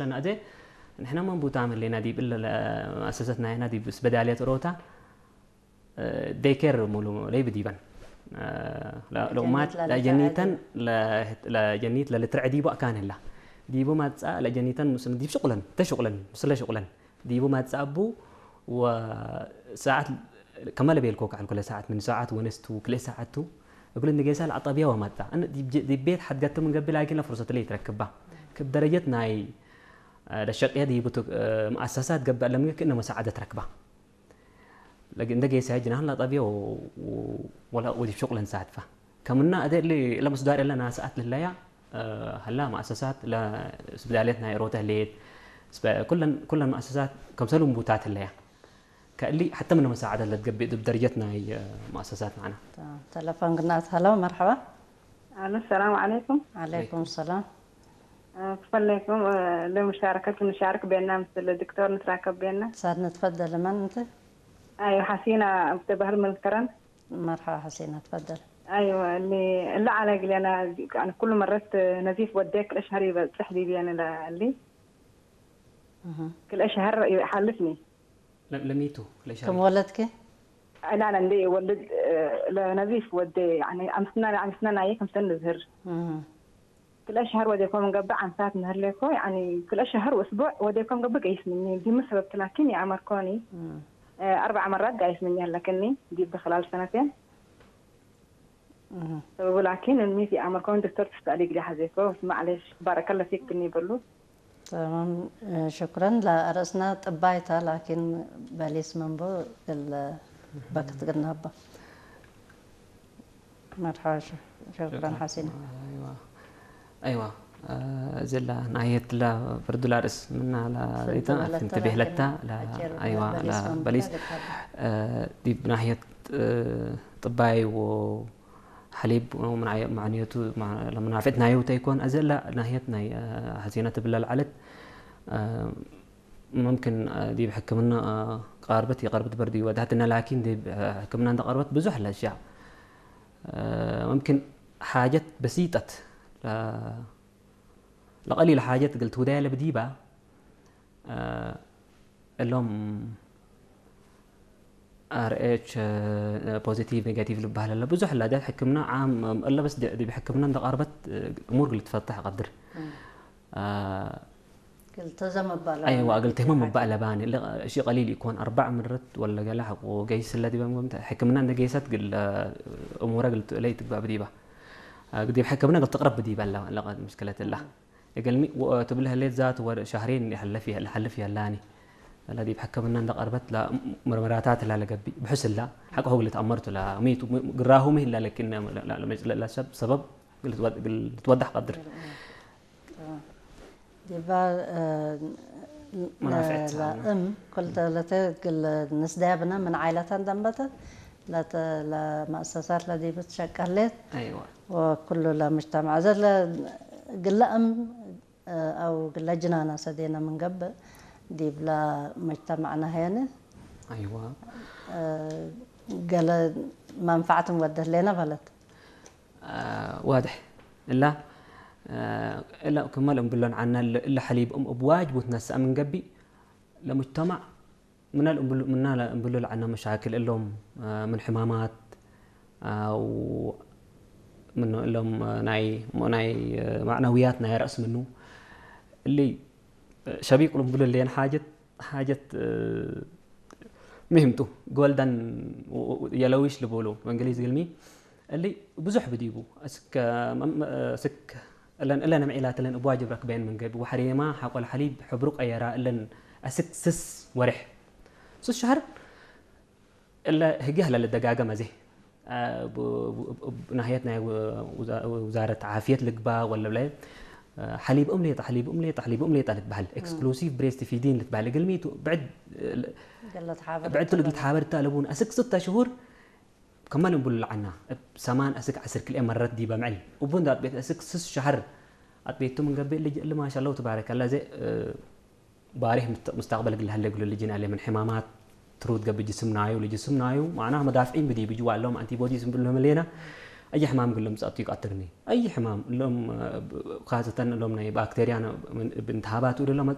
ለና እዜ ንሕና መን ቦታ መለና ዲብ እለ መኣሰሰትና ኢና ዲብ ስበዳልያ ጥሮታ ደይኬር ሙሉ ለይ ብዲበን ለኡማት ለጀኒተን ለጀኒት ለልትርዕ ዲቦ ኣካን ህላ ዲቦ ማጻ ለጀኒተን ምስ ዲብ ሽቁለን ተሽቁለን ምስለ ሽቁለን ዲቦ ማጻ ኣቡ ወሰዓት ከመለ ቤልኮ ከዓል ኩለ ሰዓት ምን ሰዓት ወነስቱ ክልኤ ሰዓቱ እግሉ ንጌሳ ለኣጠብያ ወማጻ ዲብ ቤት ሓድገቱ ምን ገቢ ላኪን ለፍርሰት ለይ ትረክባ ክብ ደረጀት ናይ ለሸቅያ ዲቡ መኣሰሳት ገብእ ለምግክ እነ መሳዓደት ረክባ እንደ ጌሳ ጅናህን ለጠብዮ ወላ ወዲብ ሹቅለን ሳትፋ ከምና እደ ለመስዳር ለና ሰዓት ልለያ ሀላ መኣሰሳት ስብዳልየት ናይ ሮተ ህለየት ኩለን መኣሰሳት ከምሰሉ እንቡታት ህለያ ከእሊ ሓተ ምን መሳዓደት ለትገብእ ድብ ደረጀት ናይ መኣሰሳት ንዓና። ተለፎን ግናት። ሀሎ፣ መርሐባ። ኣሎ። ሰላም ዓለይኩም። ዓለይኩም ሰላም። ክፈለይኩም ለምሻረከት ንሻርክ ቤና ምስል ዶክተር ንትራከብ ቤና። ሳድ ንትፈደል መን እንት? ኣይወ ሓሲና ብተባህል መልከረን። መርሐባ ሓሲና ትፈደል። ኣይወ እላ ዓላ ግሌና ኩሉ መረት ነዚፍ ወደ ክልተ ሸህር ይበጽሕ ዲብየን እላ እሊ ክልተ ሸህር ይሓልፍኒ። ለሚቱ ክልተ ሸህር ከም ወለድኪ? ላላ እንደ ወልድ ለነዚፍ ወደ ኣምስና ኣምስና ናየ ከምሰን ንዝህር ክልተ ሸህር ወዴኮም እንገብር ዓምሳት ምህር ሌኮ ያኒ ክልተ ሸህር ወስቡዕ ወዴኮም ገብር ገይስ ምኒ ዲሙ ሰበብቲ ላኪን የኣመርኮኒ ኣርባዕ መራት ጋይስ ምኒ ኣለክኒ ዲብ ብክላል ሰነቴን ሰበቡ ላኪን እሚት የኣመርኮኒ ዶክተር ትስታሊ ግዲ ሓዜኮ ማዕሌሽ ባረከለ ፊክ ክኒ ይበሉ تمام شكرا لا رأسنا طبايتا لكن بليس منبو البكت قلنا هبا مرحبا شكرا حسين ايوا ايوا زلا نايت لا فردو لا رس منا لا ريتا فين تبهلتا لا ايوا لا بليس دي بناحيه طباي و ሓሊብ ማዕንየቱ ለመናፍዕት ናየው ተይኮን ኣዘላ ናህየት ናይ ሀዜና ትብላ ለዓለት ممكن ዲብ ሕክምና ቀርበት የቀርበት በርዲ ወዳህትና ላኪን ዲብ ሕክምና እንተቀርበት ብዙሕ ለሻ ممكن ሓጀት በሲጠት ለቀሊል ሓጀት ግል ትውዳያ ለብዲባ እሎም ኣር ኤች ፖዚቲቭ ኔጋቲቭ ዝበሃል ኣሎ ብዙሕ ኣላ ደ ሕክምና ዓም እለ በስ ዲብ ሕክምና እንተቃርበት እሙር ግል ትፈታሕ ቀድር ኣይዋ እግል ተህመም እባ ኣለባኒ እሺ ቀሊል ይኮን ኣርባዕ ምርት ወለ ገለ ሓቁ ገይስ ስለ ዲበ ሕክምና እንደ ገይሰት ግል እሙረ ግል ለይ ትግባእ ብዲባ ዲብ ሕክምና ግል ትቅረብ ብዲባ ኣለባ ለቀ ምሽክለት እላ እገልሚ ትብል ህሌት ዛት ወር ሻህሬን ይሐለፍ ይሐለፍ ያላኒ ላ ዲብ ሕክምና እንደ ቀርበት ላ ምርመራታት ላ ለገቢ ብሕስ ላ ሐቀ ሆግል ተአመርቱ ላ ሚቱ ግራሁ ምን ላ ለኪን ለሰብ ሰበብ ልትወዳሕ ቀድር ዲባ መናፍዕት ላእም ኩልተ ለተ ግል ንስዳያብና ምን ዓይለታ እንደንበተ ለተ ለመእሰሳት ለዲብት ሸቀሌት አይዋ وكل لا مجتمع زل قلأم أو قل جنانا سدينا من قبل دي بلا مجتمعنا هنا አይዋ قال منفعة مودة لنا بلد واضح إلا إلا كمال أم بلون عنا إلا حليب أم أبواج بوتنا سأمن قبي لمجتمع ምናል እምብሉ ምናል እምብሉ ለዓና መሻክል እሎም ምን ሕማማት ኣው ምኖ እሎም ናይ ናይ ማዕናውያት ናይ ራእስ ምኑ እሊ ሸቢቅ እምብሉ ሌን ሓጀት ሓጀት ምህምቱ ጎልደን የለዊሽ ልቦሎ በእንግሊዝ ግልሚ እሊ ብዙሕ ብዲቡ እስከ እስክ እለን እለን ምዒላት እለን እብ ዋጅብ ረክበየን ምን ገቢ ወሐሬማ ሓቆል ሐሊብ ሕብሩ ቀየራ እለን እስክ ስስ ወርሕ ስስ ሸህር እለ ህጊ ህለ ልደጋገም ኣዜ ናህየት ናይ ውዛረት ዓፍየት ልግባ ወለ ብላይ ሐሊብ እም ሌጣ ሐሊብ እም ሌጣ ሐሊብ እም ሌጣ ልትበሃል exclusive breast feeding ልትበሃል እግልሚ ብዕድ ብዕድ ትልግል ተሓበር እታ ለቡን ኣስክ ስተ ሽሁር ከመል እንብሉ ለዓና እብ ሰማን ኣስክ ዓስር ክልኤ መረት ዲበ ምዕል እቡ እንዳ ኣጥቤት ኣስክ ስስ ሸህር ኣጥቤቱ ምን ገብእ ልጅ እሊ ማሻ ለው ትባረከላ ዘ ባሪህ ምስተቅበል ግል ሀለ ግሉ ልጅን ኣለ ምን ሕማማት ትሩት ገብእ ጅስም ናዩ ልጅስም ናዩ ማዕና መዳፍዒን ብዲ ብጅዋ ኣለዎም ኣንቲቦዲስ እንብሉ መለና ኣይ ሕማም ግሎም ጸቱ ይቃትርኒ ኣይ ሕማም እሎም ካዘተን እሎም ናይ ባክቴሪያ ብንትሃባቱ